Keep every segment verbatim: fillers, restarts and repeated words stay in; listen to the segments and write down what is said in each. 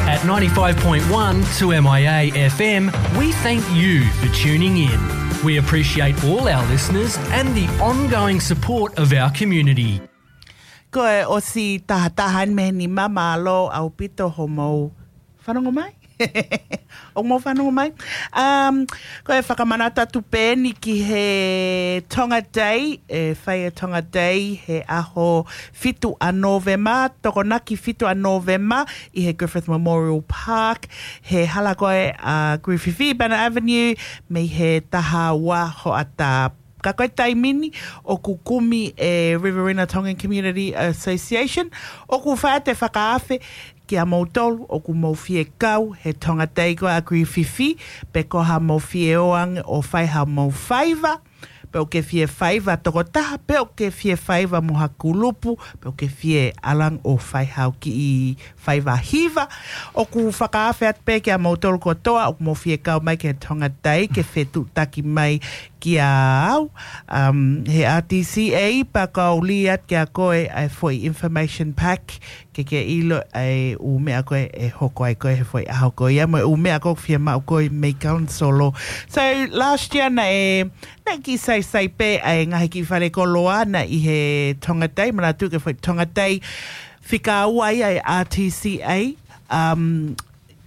At ninety-five point one two M I A F M, we thank you for tuning in. We appreciate all our listeners and the ongoing support of our community. Ko e ʻosi tahataha ni mei he nima, mālō ʻaupito hoʻomou fanongo mai. ʻOku mou fanongo mai. Um, ko e fakamanatu atu pē eni ki he Tonga Day, ʻe fai e Tonga Day he ʻaho fitu ʻa Nōvema, Tokonaki fitu ʻa Nōvema, ʻi he Griffith Memorial Park, he hala ko ē ʻa Griffith Banner Avenue, mei he taha ua hoʻatā. Ka ko e taimi ni ʻoku kumi e Riverina Tongan Community Association, ʻoku fai atu e fakaafe kiate kimoutolu ʻoku mou fie kau he Tonga Day ko ē ʻa Griffith, pe ko haʻamou fie ō ange ʻo fai haʻamou faiva, pe ʻoku ke fie faiva tokotaha, pe ʻoku ke fie faiva mo ha kulupu, pe ʻoku ke fie ʻalu ange ʻo fai haʻo kiʻi faiva hiva. ʻOku fakaafe atu pē kiate kimoutolu kotoa ʻoku mou fie kau mai ki he Tonga Day ke fetuʻutaki mai kiate au, um, he R T C A, pea kau lī atu kiate koe ʻa e foʻi information pack ke ke ʻilo ʻa e ʻū meʻa ko ē ʻe hoko ai ko ē he foʻi ʻaho ko ia, mo e ʻū meʻa ko ē ʻoku fiemaʻu ko ē mei he council. So last year naʻe, naʻe kiʻi saisai pē ʻa e ngaahi kiʻi fale koloa naʻe ʻi he Tonga Day, manatu ki he foʻi Tonga Day fika ua ia ʻa e R T C A, um,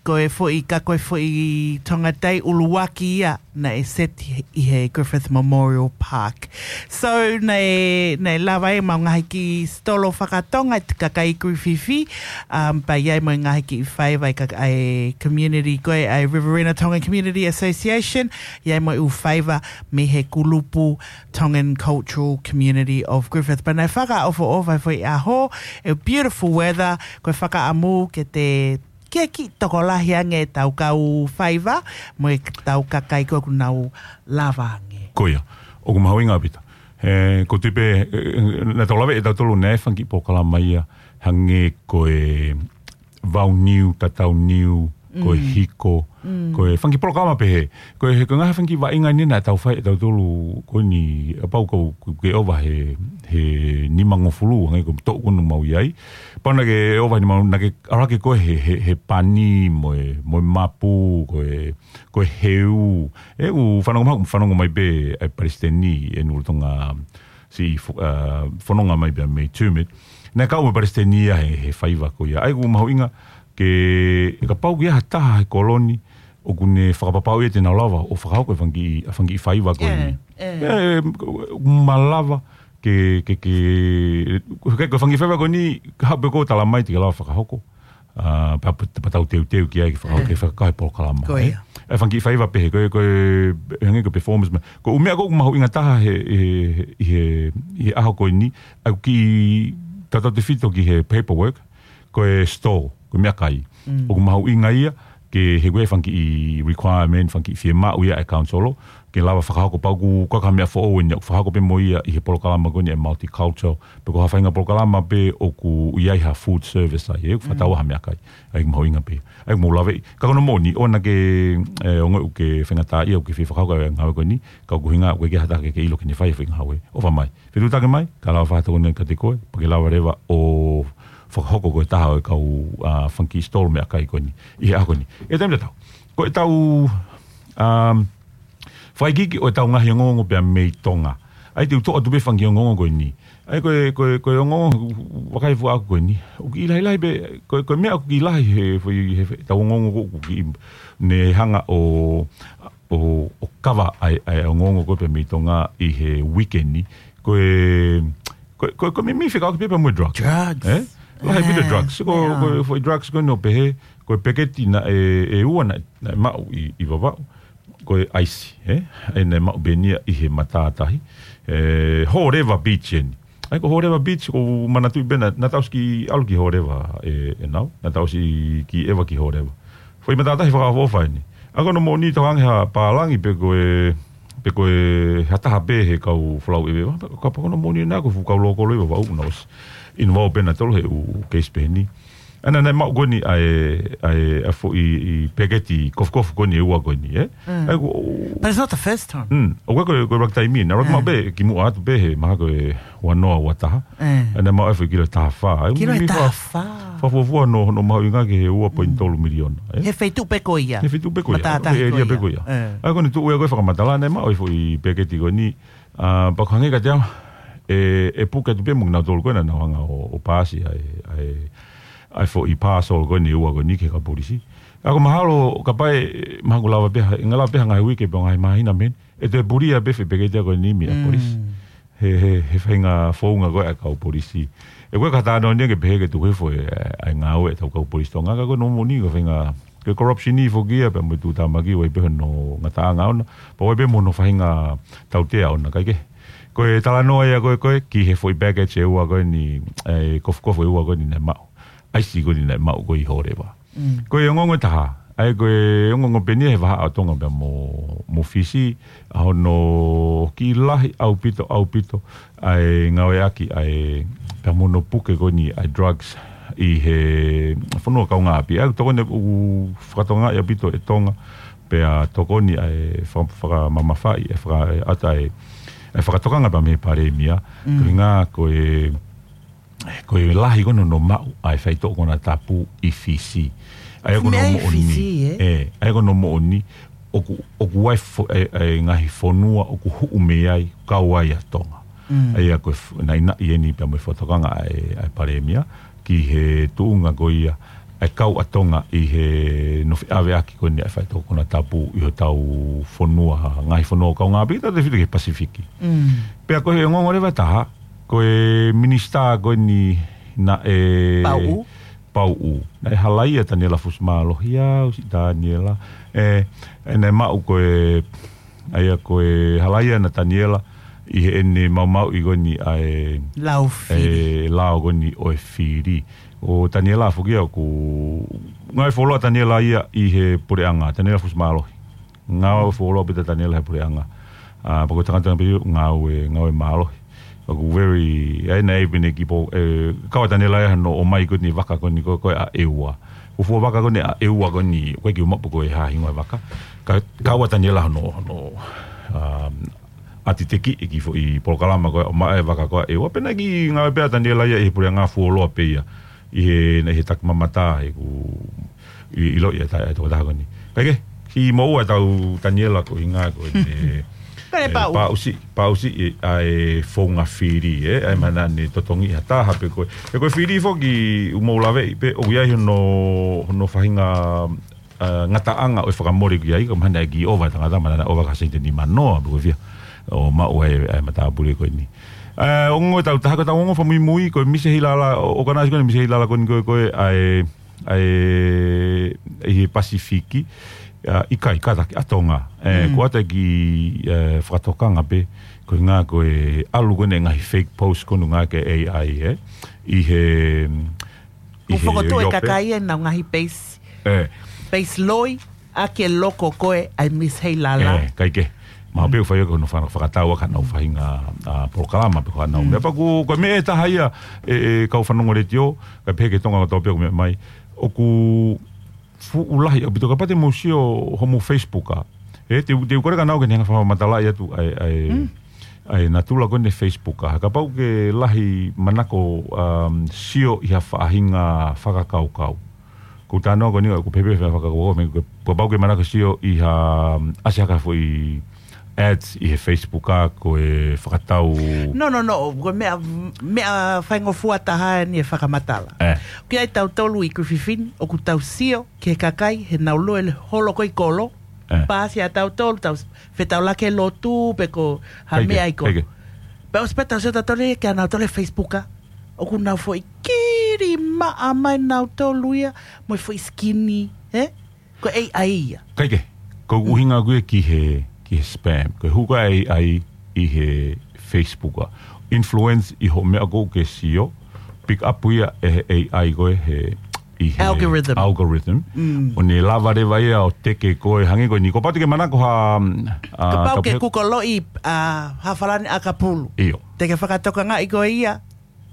ko e foʻi, ka ko e foʻi Tonga Day ʻuluaki ia naʻe seti ʻi he Griffith Memorial Park. So naʻe, naʻe lava ai ʻemau ngaahi kiʻi sitolo fakatonga ʻa e kakai Griffith, um, pea ʻi ai mo e ngaahi kiʻi faiva ʻa e ka-, ʻa e community ko ē ʻa e Riverina Tongan Community Association, ʻi ai mo e ʻū faiva mei he kulupu Tongan Cultural Community of Griffith. Pea naʻe fakaʻofoʻofa e foʻi ʻaho, e beautiful weather, ko e fakaʻamu ke te ke kiʻi tokolahi ange ʻetau kau faiva, mo ʻetau kakai ko ē ʻoku nau lava ange. Ko ia, ʻoku mahuʻinga ʻaupito. He, ko e tuʻu pē, e, e, naʻa tau lave ʻe tautolu naʻe fanga kiʻi polokalama ia, hangē ko e vau niu, tatau niu, ko e Mm. hiko, Mm. ko e fanga kiʻi polokalama pehē. Ko e, he ko e ngaahi fanga kiʻi vaʻinga ni naʻa tau fai ʻe tautolu ko eni, kapau ko, ko ke ʻova he, he nimangofulu, hangē ko e toʻu ko eni ʻoku mau ʻi ai. Pea naʻa ke ʻova ni mau, naʻa ke ʻalu hake koe he, he, he pani, mo e, mo e mapu, ko e, ko e heu. ʻE, ʻoku fanongo mai, fanongo mai pē ʻa e palesiteni ʻe Nulu Tonga si fo-, ʻa, fononga mai pē mei Tumut. Naʻe kau mo e palesiteni ia he, he faiva ko ia. ʻA ia ʻoku mahuʻinga ke, ʻe kapau ʻoku ʻi ai ha taha he kolo ni, ʻoku ne fakapapauʻi ʻe te nau lava ʻo fakahoko e fanga kiʻi, ʻa e fanga kiʻi faiva ko eni. ʻE, ʻe. ʻE, ʻoku malava ke, ke, ke, ke, ko e fanga kiʻi faiva ko eni, ka hape ko tala mai te ke lava fakahoko. ʻA, pea, pea, pea tau teuteu ki ai ke fakahoko, ʻE. ke fakahoko e polokalama, Ko ē? ia. ʻA e fanga kiʻi faiva pehē, ko e, ko e, hangē ko e performance mai. Ko e ʻū meʻa ko ē ʻoku mahuʻinga taha he, he, he, he, he ʻaho ko eni, ʻa e kiʻi tautautefito ki he paperwork, ko e store, ko e meʻakai. Mm. ʻOku mahuʻinga ia, ke he ko e fanga kiʻi requirement, fanga kiʻi fiemaʻu ia ʻa e council, ke lava fakahoko pea ʻoku, ko e ka meʻa foʻou eni, ʻoku fakahoko pē mo ia ʻi he polokalama ko eni ʻa e multicultural, pe ko ha faʻahinga polokalama pē ʻoku ʻi ai ha food service ai, ʻe ʻoku fakatau Mm. ha meʻakai, ʻa ia ʻoku mahuʻinga pē, ʻa ia ʻoku mau lave, ka ko hono moʻoni, ʻoua naʻa ke, ʻe, ongoʻi ʻoku ke faingataʻaʻia ʻoku ke fie fakahoko e ngāue ko eni, ka ʻoku ʻuhinga, ʻoku ʻikai ke ʻi ai ha taha ke, ke ʻilo ke ne fai e foʻi ngāue. ʻOfa mai. Fetuʻutaki mai, ka lava fakatokoni kiate koe, pea ke lava leva ʻo fakahoko koe ko e taha ʻo e kau, ʻa, fanga kiʻi stall meʻakai ko eni, ʻi he ʻaho ko eni. ʻI he taimi tatau, ko ʻetau, um, fakaikiiki ʻo ʻetau ngaahi ongoongo pea mei Tonga. ʻA ia te u toʻo atu pē fanga kiʻi ongoongo ko eni. ʻA ia ko e, ko e, ko e ongoongo vakai fua ʻaku ko eni. ʻOku kiʻi lahilahi pē, ko e, ko e meʻa ʻoku kiʻi lahi he, he, he, ʻetau ongoongo ko ē ʻoku kiʻi, ne hanga ʻo, ʻo, ʻo kava ʻa e, ʻa e ongoongo ko ē pea mei Tonga ʻi he weekend ni. Ko e, ko e, ko e, ko e meimei fekauʻaki pē pea mo e drugs. Drugs. ʻE? Lahi ʻaupito ʻa e drugs. Ko, Yeah. ko e foʻi drugs ko eni ʻoku pehē, ko e peketi naʻe, ʻe ua naʻe, naʻe maʻu ʻi, ʻi Vavaʻu. Ko e ʻaisi, ʻe? ʻA ia naʻe maʻu pē eni ia ʻi he matātahi. ʻE, Horeva Beach eni. ʻA ia ko Horeva Beach, ʻoku ou manatuʻi pē naʻa, naʻa tau ʻosi kiʻi ʻalu ki Horeva, ʻe, ʻe nau. Naʻa tau ʻosi kiʻi ʻeva ki Horeva. Foʻi matātahi fakaʻofoʻofa eni. ʻA ia ko hono moʻoni tokanga ha pālangi pe ko e, pe ko e ha taha pē he kau folau ʻeveva. Kapau ko hono moʻoni naʻa ko e fuʻu kau lōkolo ʻi Vavaʻu naʻa ʻosi involve pē nautolu he ʻū case pehē ni. ʻAna naʻe maʻu ko eni ʻa e, ʻa e, ʻa e foʻi peketi kofukofu ko eni ʻe ua ko eni, ē? Mm. ʻA ia ko But it's not the first time. Mm. ʻO ko e, ko e, ko e ʻuluaki taimi eni. ʻA ia ʻoku maʻu pē, kimuʻa atu pē he mahalo ko e ua noa ua taha. ʻAna maʻu ʻa e foʻi kilo ʻe taha fā. ʻA ia Kilo ʻe taha fā. Fakafuofua hono, hono mahuʻinga ki he ua poini tolu miliona, ē? He feituʻu pē ko ia. He feituʻu pē ko ia. Matātahi He ko ʻēlia ia. pē ko ia. ʻA ia ko eni tuʻu ia ko e fakamatala naʻe maʻu ʻa e foʻi peketi ko eni. ʻA, pea ko e hangē kiate au, ʻe, ʻe puke atu pē mo kinautolu ko ē naʻa nau hanga ʻo, ʻo paasi ʻa e, ʻa e, ʻa e foʻi parcel ko eni ʻe ua ko eni ki he kau polisi. ʻA ia ko e mahalo, kapau ʻe, mahalo ʻoku lava pē, ʻe lava pē ha ngaahi uike pe ngaahi māhina mei heni, ʻe toe pulia pē foʻi peketi ko eni mei he polisi. He, he, he faʻahinga founga ko ē ʻa e kau polisi. ʻE ko e ka tano ni ke pehē ke tuku hifo e, ʻa e ngāue ʻetau kau polisi Tonga, ka ko hono moʻoni ko e faʻahinga Ko e corruption ʻi foki ia pea mo e tuʻutāmaki ʻoku ʻi ai pē hono ngataʻanga ʻona. Pea ʻoku ʻi ai pē mo hono faʻahinga tautea ʻona, kae kehe. Ko e talanoa ia ko ē, ko ē, ki he foʻi package ʻe ua ko eni, ʻa e kofukofu ʻe ua ko eni naʻe maʻu. ʻAisi ko eni naʻe maʻu ko ē ʻi Hōleva. Ko e ongoongo ʻe taha. ʻA ia ko e ongoongo pē eni ia he vahaʻa ʻo Tonga pea mo, mo Fisi, ʻa hono kiʻi lahi ʻaupito, ʻaupito, ʻa e ngāueʻaki, ʻa e, pea mo hono puke ko eni, ʻa e drugs, ʻi he fonua kaungāʻapi. ʻA ia, tokoni ʻoku fakatokangaʻi ʻaupito ʻe Tonga, pea tokoni ʻa e faka-, fakamamafaʻi, ʻa e faka-, ʻa e ʻata ʻa e, ʻa e fakatokanga pea mei he Palēmia, ko e ʻuhinga ko e, ko e lahi ko ē hono maʻu ʻa e faitoʻo konatapu ʻi Fisi. ʻA ia ko hono Mei moʻoni. Fisi, ē? ʻE, ʻa ia ko hono moʻoni, ʻoku, ʻoku ʻi ai fo-, ʻa e, ʻa e ngaahi fonua ʻoku huʻu mei ai, kau ai ʻa Tonga. ʻA ia ko e f-, naʻinaʻi eni pea mo e fakatokanga ʻa e, ʻa e Palēmia, ki he tuʻunga ko ia, ʻa e kau ʻa Tonga ʻi he nofo ʻaveʻaki ko eni ʻa e faitoʻo konatapu ʻi hotau fonua, ngaahi fonua kaungāʻapi, tautefito ki he Pasifiki. Pea ko e ongoongo leva ʻe taha, ko e minisitā ko eni naʻe Pauʻu. Pauʻu. Naʻe halaia ʻa Taniela Fusimālohi au, si Taniela. ʻE, ʻe naʻe maʻu ko e, ʻa ia ko e halaia ʻa Taniela ʻi heʻene maumauʻi ko eni ʻa e Lao fili. ʻE lao ko eni ʻo e fili. ʻO Taniela foki ia ʻoku ngāue fuoloa ʻa Taniela ia ʻi he puleʻanga, Taniela Fusimālohi. Ngāue fuoloa pē ʻa Taniela he puleʻanga. ʻA, pea ko e tangata pē ia ʻoku ngāue, ngāue mālohi. ʻOku very, ʻa ia naʻe pehē ki ai pē, ʻe, kau ʻa Taniela ia hono ʻomai ko eni vaka ko eni ko, ko ē ʻa ʻEua. Ko e fuofua vaka ko eni ʻa ʻEua ko eni, ʻoku ʻikai ke u maʻu pe ko e hā e hingoa e vaka. Ka, kau ʻa Taniela hono, hono, um, ʻati tekiʻi e kiʻi foʻi polokalama ko ē ʻo ʻomai e vaka ko ē ʻa ʻEua. Pea naʻe kiʻi ngāue pē ʻa Taniela ia ʻi he puleʻanga fuoloa pē ia. ʻI he, naʻe ʻi he takimamata he ʻoku ʻi, ʻiloʻi ʻe he ta-, ʻe he tokotaha ko eni. Kae kehe, kiʻi moʻua ʻetau Taniela ko e ʻuhinga ko ʻene, Ko e ʻe, pauʻu. pauʻusiʻi, pauʻusiʻi ʻa e founga fili, ē, ʻa e mahalo naʻe totongi ha taha pe ko e. ʻE ko e fili foki ʻoku mou laveʻi pē, ʻoku ʻi ai hono, hono faʻahinga, ʻa, ngataʻanga ʻo e fakamole ki ai, ka mahalo naʻe kiʻi ʻova e tangata, mahalo naʻe ʻova ki he sēniti ʻe nima noa, pe ko e fiha, ʻo maʻu ai ʻa e matāpule ko eni. ʻA, ongoongo ʻe taha, ko ʻetau ongoongo fakamuimui, ko e Misi Heilala, ʻo, ʻo ka naʻe ʻasi ko eni Misi Heilala ko eni ko e, ko e, ʻa e, ʻa e, ʻi he Pasifiki, ʻa, ʻikai, kātaki, ʻa Tonga. ʻE, Mm. ko ʻata ki, ʻe, fakatokanga pē, ko e ʻuhinga ko e ʻalu ko eni e ngaahi fake post ko eni ngāueʻaki ʻe he A I, ē. ʻI he, ʻi ʻOku he fokotuʻu e ʻiope. kakai ʻenau ngaahi peisi. ʻE. Peisi loi, ʻa e loko ko ē ʻa e Misi Heilala. ʻE, kae kehe. Mahalo pē ʻoku fai ʻaki hono faka-, fakatau ʻaki haʻanau faʻahinga, ʻa, polokalama pe ko haʻanau Mm. meʻa. Pea ko, ko e meʻa ʻe taha ia, ʻe, ʻe kau fanongo letiō, kae pehē ki Tonga kotoa pē ʻoku meʻa mai. ʻOku fuʻu lahi ʻaupito kapau te mou sio homou Facebook ʻa. ʻE, te u, te u kole kia nautolu ke ne hanga fakamatalaʻi atu ʻa e, ʻa e, Mm. ʻa e natula ko eni e Facebook ʻa. Kapau ʻoku ke lahi manako, um, sio ʻi ha faʻahinga fakakaukau. Ko e talanoa ko eni ʻoku pehē pē fakakaukau, meʻa ko e, kapau ʻoku ke manako sio ʻi ha, um, ʻasi hake ha foʻi ads ʻi he Facebook ʻa ko e fakatau. No, no, no, ko e meʻa, meʻa faingofua taha eni e fakamatala. ʻE. ʻOku ʻi ai tautolu ʻi Kuififini, ʻoku tau sio ki he kakai, heʻenau lue holo ko ē ʻi kolo, ʻE. paasi ʻa tautolu, tau fetaulaki he lotu, pe ko ha Kae kehe, meʻa ʻi kolo. kae kehe. Pea ʻosi pē tau sio tautolu ia kia nautolu he Facebook ʻa. ʻOku nau foʻi kili maʻa mai nautolu ia, mo e foʻi sikini, ē? Ko e A I ia. Kae kehe, ko e ʻuhinga ko ē ki he, ki he spam. Ko e hū ko ē ʻa e A I ʻi he Facebook ʻa. Influence ʻi hoʻo meʻa ko ē ʻoku ke sio, pick up ia ʻe he A I ko ē he, ʻi he Algorithm. algorithm. Mm. ʻO ne lava leva ia ʻo teke koe hangē ko eni. Ko pau te ke manako ha, ʻa, Kapau ke kapau Google ʻi, ʻa, ha falani ʻakapulu. ʻIo. Te ke fakatokangaʻi koe ia,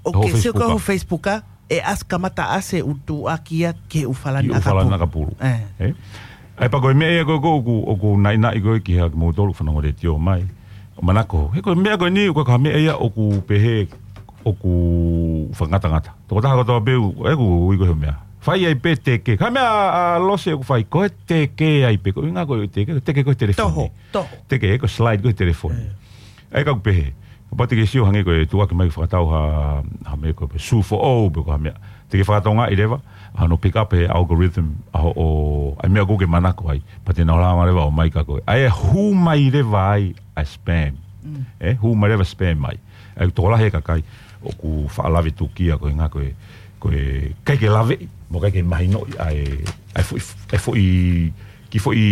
ʻo Ho ke sio ko Facebook ʻa. ho Facebook ʻa. ʻe ʻasi kamata ʻasi ʻū tuʻuaki ia ki he ʻū falani ʻakapulu. Ki he ʻū falani ʻakapulu. ʻE. ʻE? ʻAi pea ko e meʻa ia ko ē ʻoku, ʻoku naʻinaʻi ko ē ki he kimoutolu fanongo letiō mai. ʻO manako, he ko e meʻa ko eni, ko e ka meʻa ia ʻoku pehē, ʻoku fakangatangata. Tokotaha kotoa pē ʻoku, ʻoku ui ko e meʻa. Fai ai pē teke. Ka meʻa ʻa, ʻa Lose ʻoku fai, ko e teke ai pē, ko e ʻuhinga ko e teke, teke ko e telefoni. Toho, toho. Teke, ko e slide ko e telefoni. ʻE. ʻAi ka ʻoku pehē. Kapau te ke sio hangē ko e tuʻuaki mai fakatau ha, ha meʻa ko e sū foʻou pe ko ha meʻa. Te ke fakatokangaʻi leva, ʻa hono pick up he algorithm, ʻa hoʻo, ʻa e meʻa ʻoku ke manako ai. Pea te nau lava leva ʻo ʻomai kia koe. ʻAi ʻe hū mai leva ai, ʻa e spam. Mm. ʻE, hū mai leva spam mai. ʻAi tokolahi e kakai, ʻoku faʻa lave tukia ko e ʻuhinga ko e, ko e ʻikai ke laveʻi, mo ʻikai ke mahinoʻi, ʻa e, ʻa e foʻi, ʻa e foʻi, kiʻi foʻi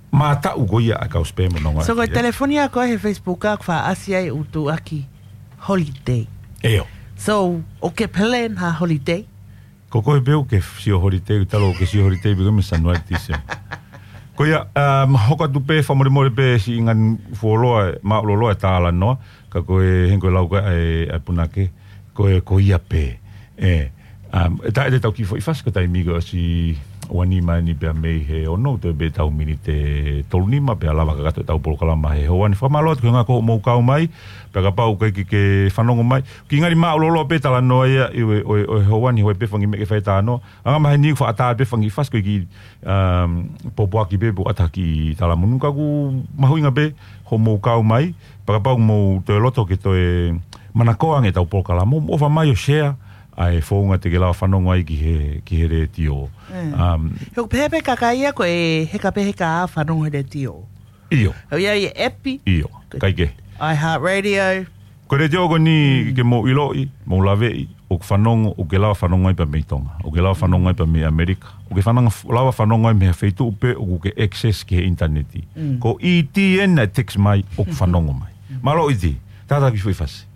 mātaʻu ko ia ʻa e kau spam ʻo nonga. So, ko e telefoni ʻa koe he Facebook ʻoku faʻa ʻasi ai ʻū tuʻuaki holiday. ʻIo. So, ʻoku ke plan ha holiday? Ko koe pē ʻoku ke sio holiday, talu ʻoku ke sio holiday, pē ko e meʻa Sanuali Tīsema. Ko ia, um, hoko atu pē, fakamolemole pē, siʻi ngaahi fuoloa, māʻuloloa e talanoa, ka ko e hangē ko e lau ko ē ʻa e, ʻa e punake, ko e, ko ia pē. ʻE, um, ʻe taʻe te tau kiʻi foʻi fasi ko e taimi ko ē ʻosi ua nima ni pea mei he ono, toe pē tau miniti tolu nima, pea lava kakato ʻetau polokalama he houa ni. Fakamālō atu ki he ʻuhinga ko hoʻomou kau mai, pea kapau ʻoku ʻikai ke, ke fanongo mai. Kiʻi ngali māʻuloloa pē talanoa ia ʻi he, ʻo e, ʻo e houa ni, hoi pē fanga meʻa ke fai talanoa. Anga maheni ʻoku faʻa tā pē fanga fasi ko e kiʻi, um, pōpoaki pē pe ʻoku ʻata ha kiʻi talamonū ka ʻoku mahuʻinga pē hoʻomou kau mai, pea kapau ʻoku mou toe loto ke toe manakoa ange ʻetau polokalama, mou ʻofa mai ʻo share, ʻa e founga te ke lava fanongo ai ki he, ki he letiō. ʻE. Um, he ʻoku pehē pē kakai ia ko e heka pē heka ʻa fanongo he letiō. ʻIo. ʻOku ʻi ai e ʻepi. ʻIo. Ko e ʻikai ke. iHeartRadio. Ko e letiō ko eni ke mou ʻiloʻi, mou laveʻi, ʻoku fanongo, ʻoku ke lava fanongo ai pea mei Tonga. ʻOku ke lava fanongo ai pea mei ʻAmelika. ʻOku ke fanongo, lava fanongo ai mei ha feituʻu pē ʻoku ke access ki he ʻinitaneti. Mm. Ko e ʻi he ʻene text mai, ʻoku fanongo mai. Mālō ʻiti, tātā kiʻi foʻi fasi.